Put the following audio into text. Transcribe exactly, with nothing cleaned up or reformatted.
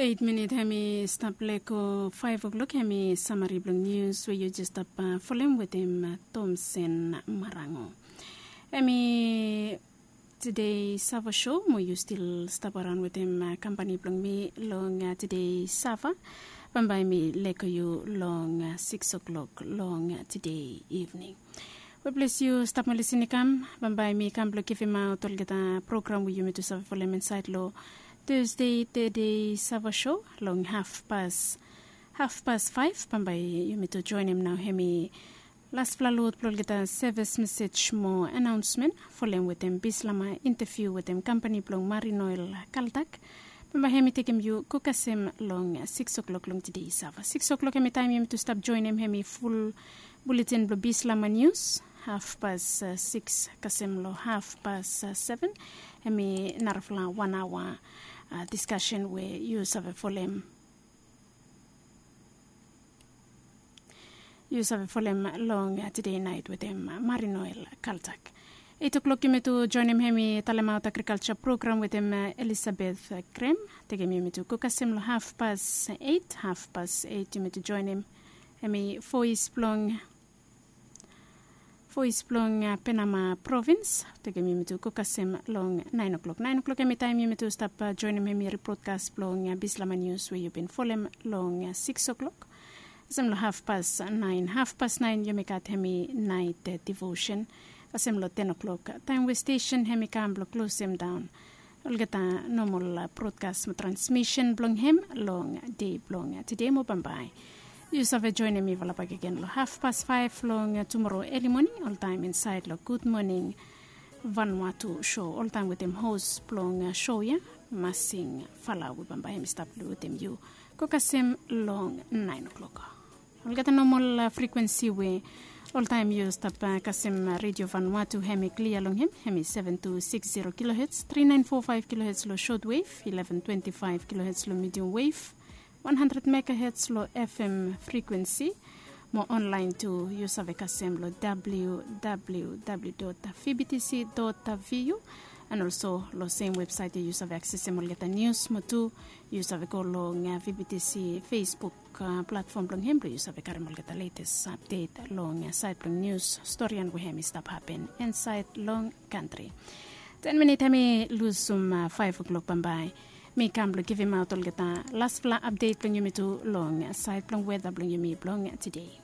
Eit minit hem i stap lego faef o'klok, hem i samari blong nius we yu jes stap folem wetem Tomsen Marango. Hem i tede sava sho mo yu stil stap araon wetem kampani blong mi long tede sava. Bambae mi lego yu long siks o'klok long tede ivning. We ples yu stap mo lisin i kam, bambae mi kam blong givimaot olgeta program we yumi tu save folem insaed long Tuesday tede sava sho long hafpas hafpas faef. Bambae yumi tu joenem nao hem i laspela lod blong olgeta sevis mesej mo anaonsmen folem wetem bislama inteviu wetem kampani blong Marine Oil Kaltak. Bambae hem i tekem yu go kasem long siks o'klok long tede sava. Siks o'klok hem i taem yumi tu stap joenem hem i ful buletin blong bislama nius. Hafpas siks kasem long hafpas seven hem i narafala wan aoa diskasen we yu save folem yu save folem long tede naet wetem Marine Oil Kaltak. Eit o'klok yumi tu joenem hem i talemaot agrikalsa program wetem Elisabeth Grem. Tekem yumi tu go kasem long hafpas eit. Hafpas eit yumi tu joenem hem i voes blong voes blong Penama provins. Tekem yumi tu go kasem long naen o'klok. Naen o'klok hem i taem yumi tu stap joenem hem i ripotkas blong bislama nius we yu bin folem long siks o'klok. Kasem long hafpas naen. Hafpas naen yumi gat hem i naet devosen. Kasem long ten o'klok taem we stesen hem i kam blong klosem daon olgeta nomol brodkas mo transmisen blong hem long dei blong tede mo bambae. Yu save joenem mifala bakegen long hafpas faef long tumoro eli moning oltaem insaed long Gud Moning Vanuatu sho oltaem wetem hos blong sho ya, Masing Fala, we bambae hem i stap long wetem yu go kasem long naen o'klok. Olgeta nomol frikwensi we oltaem yu stap kasem Redio Vanuatu hem i klia long hem, hem i seven two six zero kilohertz, three nine four five kilohertz long short wave, eleven twenty five kilohertz long medium wave, one hundred megahertz long F M frikwensi. Mo onlaen tu yu save kasem long W W W dot V B T C dot V U. And also long sem websaet ya yu save aksesem olgeta nius mo tu yu save go long V B T C Facebook platfom blong hem blong yu save karim olgeta letes apdet long saed blong nius storian we hem i stap hapen insaed long kantri. Ten minit hem i lusum faef o'klok bambae. Mi kam blong givimaot olgeta laspela apdet blong yumi tu long saed blong weta blong yumi blong tede.